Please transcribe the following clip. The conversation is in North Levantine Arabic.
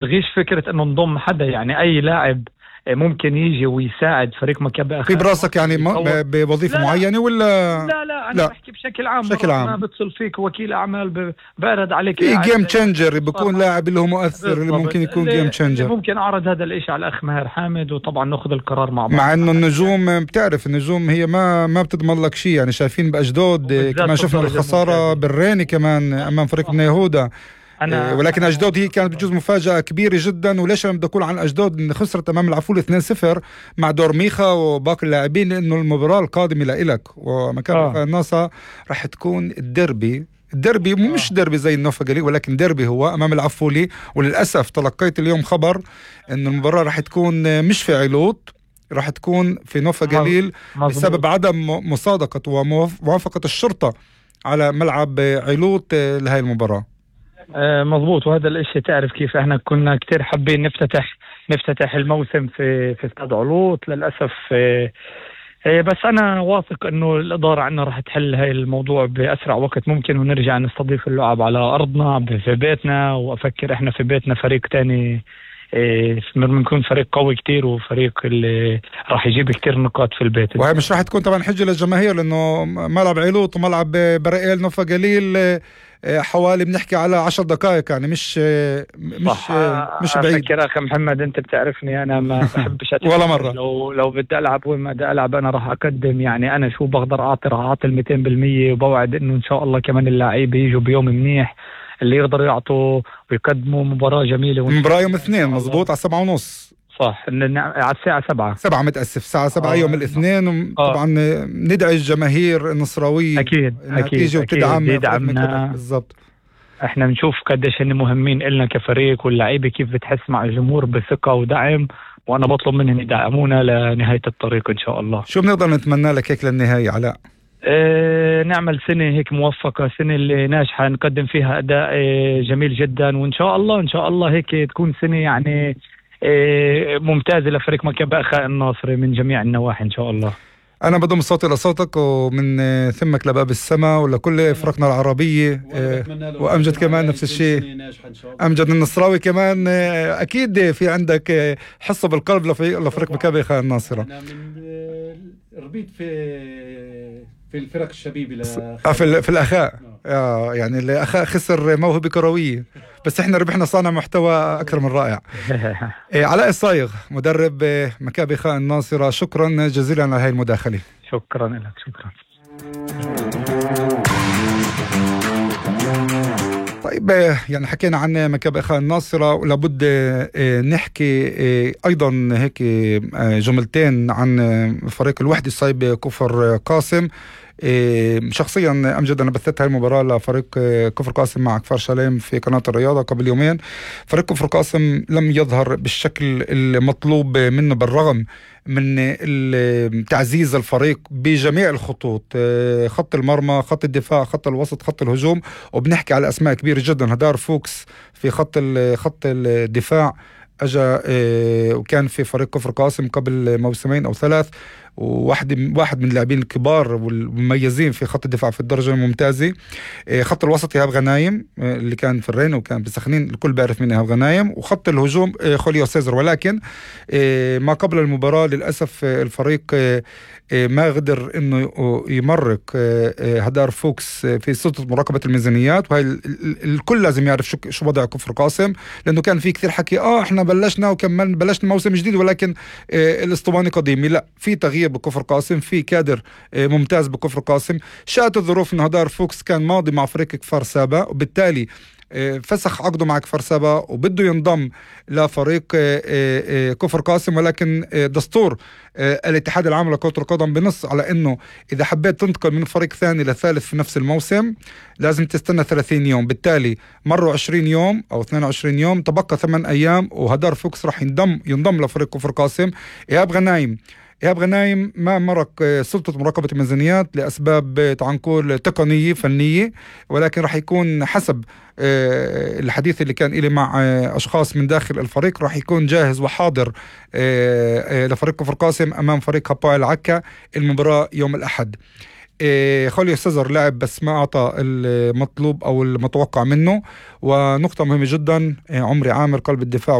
تغيش فكرة انه نضم حدا، يعني اي لاعب ممكن يجي ويساعد فريق مكابي في براسك يعني بوظيفة معينة ولا؟ لا أنا بحكي بشكل عام. ما بتصل فيك وكيل أعمال بعرض عليك في جيم تشينجر، بيكون لاعب اللي هو مؤثر اللي ممكن يكون جيم تشينجر. ممكن أعرض هذا الإشي على الأخ ماهر حامد، وطبعا نأخذ القرار مع بعض. مع إنه النجوم بتعرف النجوم هي ما بتضمن لك شيء، يعني شايفين بأجدود كمان شفنا الخسارة بالريني كمان أمام فريق بني يهودا. ولكن أجدود هي كانت بجوز مفاجأة كبيرة جدا. وليش أنا بدي أقول عن أجدود إن خسرت أمام العفول 2-0 مع دور ميخا وباقي اللاعبين؟ لأنه المباراة القادمة لإلك ومكان الناصر رح تكون الديربي مش ديربي زي النوفا، ولكن ديربي هو أمام العفولي. وللأسف تلقيت اليوم خبر إن المباراة رح تكون مش في علوط، رح تكون في نوفا قليل بسبب عدم مصادقة وموافقة الشرطة على ملعب علوط لهي المباراة. مضبوط. وهذا الاشي تعرف كيف احنا كنا كتير حابين نفتتح الموسم في استاد علوط. للأسف بس انا واثق انه الادارة عنا راح تحل هاي الموضوع باسرع وقت ممكن، ونرجع نستضيف اللعب على ارضنا في بيتنا. وافكر احنا في بيتنا فريق تاني بنكون فريق قوي كتير، وفريق اللي راح يجيب كتير نقاط في البيت. وهي مش راح تكون طبعا حجة للجماهير، لانه ملعب علوط وملعب برائيل نوفا قليل حوالي بنحكي على 10 دقائق، يعني مش بعيد. أفكر أخي محمد، أنت بتعرفني أنا ما بحبش ولا مرة. لو بدي ألعب وين ما بدي ألعب أنا راح أقدم، يعني أنا شو بقدر أعطي راح أعطي 200%. وبوعد إنه إن شاء الله كمان اللاعب يجوا بيوم منيح اللي يقدروا يعطوا ويقدموا مباراة جميلة. مباراة يوم الاثنين مزبوط على 7:30 صح، على الساعة 7 متأسف الساعة 7 يوم الاثنين. طبعا ندعي الجماهير النصراوية أكيد تيجي وتدعمنا بالضبط. احنا بنشوف قديش هن مهمين إلنا كفريق، واللعيبة كيف بتحس مع الجمهور بثقة ودعم، وانا بطلب منهم يدعمونا لنهاية الطريق ان شاء الله. شو بنقدر نتمنى لك هيك للنهاية علاء؟ نعمل سنة هيك موفقة، سنة اللي ناجحة نقدم فيها أداء جميل جدا، وإن شاء الله هيك تكون سنة يعني ممتازة لفريق مكابي أخاء الناصري من جميع النواحي إن شاء الله. أنا بضم صوتي لصوتك ومن ثمك لباب السماء ولكل فرقنا العربية، وأمجد كمان نفس الشيء. أمجد النصراوي كمان أكيد في عندك حصة بالقلب لفريق مكابي أخاء الناصرة. أنا ربيت في الفرق الشبيبة في الأخاء. يعني الأخاء خسر موهبة كروية، بس احنا ربحنا صانع محتوى أكثر من رائع. علاء الصايغ مدرب مكابي أخاء الناصرة، شكرا جزيلا على هاي المداخلة. شكرا لك. شكرا. طيب يعني حكينا عن مكابي أخاء الناصرة، ولابد نحكي أيضا هيك جملتين عن فريق الوحدة الصايب كفر قاسم. شخصيا أمجد أنا بثت هاي المباراة لفريق كفر قاسم مع كفر شاليم في قناة الرياضة قبل يومين. فريق كفر قاسم لم يظهر بالشكل المطلوب منه بالرغم من تعزيز الفريق بجميع الخطوط، خط المرمى، خط الدفاع، خط الوسط، خط الهجوم. وبنحكي على أسماء كبيرة جدا. هدار فوكس في خط الدفاع أجا وكان في فريق كفر قاسم قبل موسمين أو 3، واحد من اللاعبين الكبار والمميزين في خط الدفاع في الدرجة الممتازة. خط الوسط إيهاب غنايم اللي كان في الرين وكان بسخنين، الكل بيعرف مين إيهاب غنايم. وخط الهجوم خوليو سيزر. ولكن ما قبل المباراة للأسف الفريق ما قدر إنه يمرق هدار فوكس في سلطة مراقبة الميزانيات. وهي الكل لازم يعرف شو وضع كفر قاسم، لأنه كان في كثير حكي إحنا بلشنا موسم جديد، ولكن الاسطوانة قديمة. لا، في تغيير بكفر قاسم، في كادر ممتاز بكفر قاسم. شاءت الظروف إنه هدار فوكس كان ماضي مع فريق كفر سابا، وبالتالي فسخ عقده مع كفر سابا وبده ينضم لفريق كفر قاسم. ولكن دستور الاتحاد العام لكرة القدم بنص على انه اذا حبيت تنتقل من فريق ثاني لثالث في نفس الموسم لازم تستنى 30 يوم. بالتالي مروا 20 يوم او 22 يوم، تبقى 8 ايام وهدار فوكس راح ينضم لفريق كفر قاسم. إيهاب غنايم ما مرق سلطة مراقبة الميزانيات لأسباب تعال نقول تقنية فنية، ولكن راح يكون حسب الحديث اللي كان إلي مع أشخاص من داخل الفريق راح يكون جاهز وحاضر لفريق كفر قاسم أمام فريق هباء العكا المباراة يوم الأحد. خوليو سيزر لعب بس ما أعطى المطلوب أو المتوقع منه. ونقطة مهمة جدا، عمري عامر قلب الدفاع